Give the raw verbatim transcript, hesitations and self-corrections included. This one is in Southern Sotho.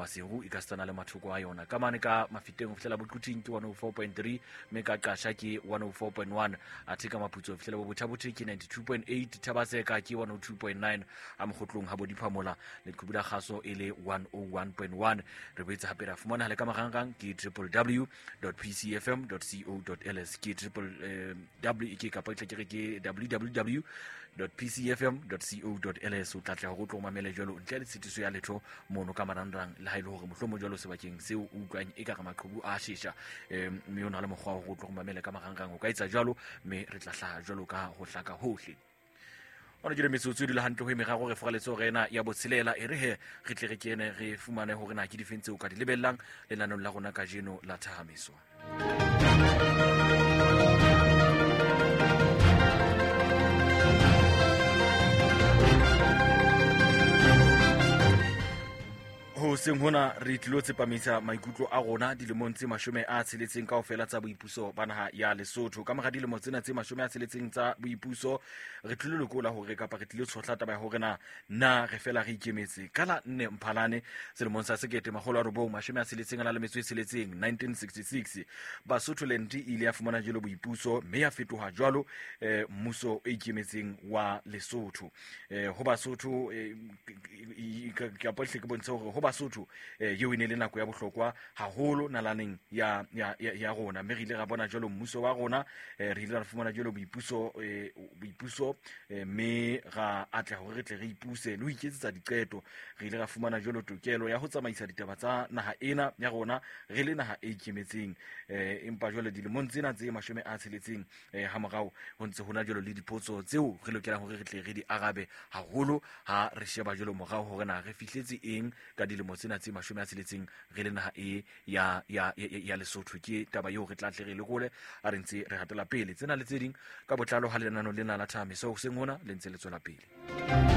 Maseru e ka stana le mathoko a yona. Ka mane ka Mafiteng ho fihlela Boquting ke one oh four point three, mme ka Qasha ke one oh four point one, athe ka Maputso ho fihlela bo Bothabothe ke ninety-two point eight, Thabaseka ke one oh two point nine, a Mokgotlong ha bo Diphamola leqhubu la kgaso e le one oh one point one. Re boetse hape ra fumana le ka marangrang ke triple w dot p c f m dot co dot l s, ke triple w ke kapa ke re ke www dot p c f m dot co dot l s. O tla tla hore o tlo mamele jwalo ntle le tshitiso ya letho mono ka marangrang, le ha ile hore mohlomong jwalo sebakeng seo o utlwang e ka re maqhubu a shesha, mme o na le mokgwa wa hore o tlo mamele ka marangrang, o ka etsa jwalo mme re tla hlaha jwalo ka ho hlaka hohle. Ona ke le metsotso e dula hantle ho e meraro re foraletse hore ena ya botshelela e re he re tle re kene re fumane hore na ke difeng tseo ka di lebellang lenaneong la rona kajeno la Thahamiso. Ho seng hona re tlilo tsepamisa maikutlo a rona dilemong tse mashome a tsheletseng kaofela tsa boipuso ba naha ya Lesotho. Ka mora dilemo tsena tse mashome a tsheletseng tsa boipuso re tlilo lekola hore kapa re tlilo tshohla taba ya hore na na re fela re ikemetse. Ka la nne Mphalane selemong sa sekete makgolo a robong mashome a tsheletseng a na le metso e tsheletseng nineteen sixty-six, Basotholand e ile ya fumana jwalo boipuso mme ya fetoha jwalo eh, mmuso o ikemetseng wa Lesotho. Eh, ho Basotho eh, kapa hle ke bontshe hore ho Basotho eh eo e ne le nako ya bohlokwa haholo nalaneng ya ya ya rona, mme re ile ra bona jwalo mmuso wa rona, eh, re ile ra fumana jwalo boipuso eh, boipuso mme ra atleha hore re tle re ipuse le ho iketsetsa diqeto. Re ile ra fumana jwalo tokelo ya ho tsamaisa ditaba tsa naha ena ya rona re le naha e ikemetseng, eh, empa jwale dilemong tsena tse mashome a tsheletseng eh, ha morao ho ntse hona jwalo le dipotso tseo re lokelang hore re tle re di arabe haholo ha re sheba jwalo morao hore na re fihletse eng ka dilemo tsena tse mashome a tsheletseng re le naha e ya ya ya Lesotho. Ke taba eo re tla tle re lekole a re ntse re hatela pele tsena le tse ding ka botlalo ha lenano lena la Thahamiso hoseng hona le ntse le tswela pele.